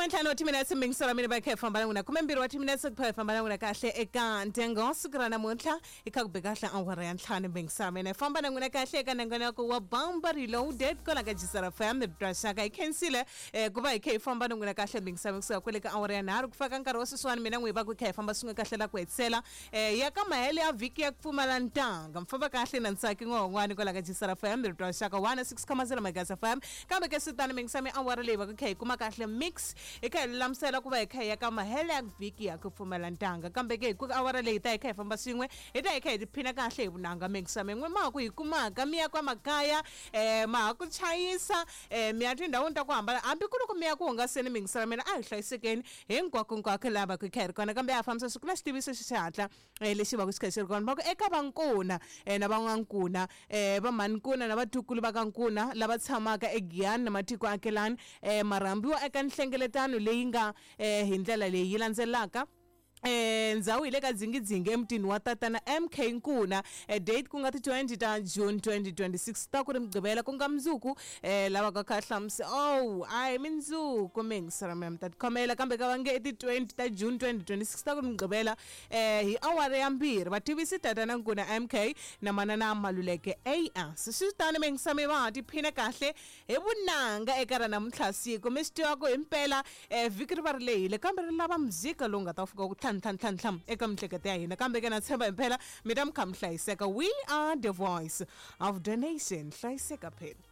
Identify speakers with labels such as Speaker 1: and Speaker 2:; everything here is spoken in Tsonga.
Speaker 1: Khumentlhanu wa timinetse mingisa ra mina va kha hi famba na n'wina 12 wa timinetse ku pha hi famba na n'wina kahle eka ntengo siku ra namuntlha hi kha ku be kahle awara ya ntlhanu mingisa mina hi famba na n'wina kahle eka nongonoko wa Bamba Reloaded kwala ka Jisara FM rito ra xaka hi khensile ku va hi kha hi famba na n'wina kahle mingisa kusuka kwale ka awara ya nharhu ku fika nkarhi wa sweswiwani mina n'wi va ku kha hi famba swin'we kahle la ku hetisela ya ka mahele ya vhiki ya ku pfumala ntanga mi famba kahle na Ntsaki N'wahon'wani kwala ka Jisara FM rito ra xaka 106.0 Megahertz FM kambe ke swi tano mingisa mi awara leyi va ku kha hi kuma kahle mix hi kha hi lulamisela ku va hi kha hi ya ka mahele ya vhiki ya ku pfumala ntanga kambe ke hi ku awara leyi ta hi kha hi famba swin'we hi ta hi kha hi tiphina kahle hi vunanga mingisa min'we ma ha ku hi kumaka mi ya kwa makaya ma ha ku chayisa mi ya tindhawini ta ku hambana hambi ku ri ku mi ya ku hungaseni mingisela mina a hi hlayisekeni hinkwakonkwako laha va ku hi kha hi ri kona kambe a fambisa swi ku na xitiviso xi xihatla lexi va ku xi kha xi ri kona va ku eka vankuna na van'wankuna va mhani-nkuna na vatukulu va ka nkuna lava tshamaka eGiyani na matiko akelani ma rhambiwa eka nhlengeletano leyi nga hi ndlela leyi yi landzelaka. Ndzhawu hi le ka Dzingidzingi emutini wa tatana MK Nkuna. Date ku nga ti 20 ta June 2026 ta ku ri Mugqivela ku nga mundzuku. Lava ka kha hlamusi oh a hi mindzuku mingisela mina mi ta tikhomela kambe ka va nge i ti 20 ta June 2026 ta ku ri Mugqivela hi awara ya mbirhi vativisi tatana Nkuna MK na manana Maluleke AS. Swi tano mingisa mi va ha tiphina kahle hi vunanga eka ra namuntlha siku mi swi tiva ku himpela vhiki ri va ri lehile kambe ri lava muzika lowu nga ta fika ku tlham tlham tlham tlham eka mihleketo ya hina kambe ke na tshemba himpela mi ta mi kha mi hlayiseka. We are the voice of the nation. Hlayiseka phela.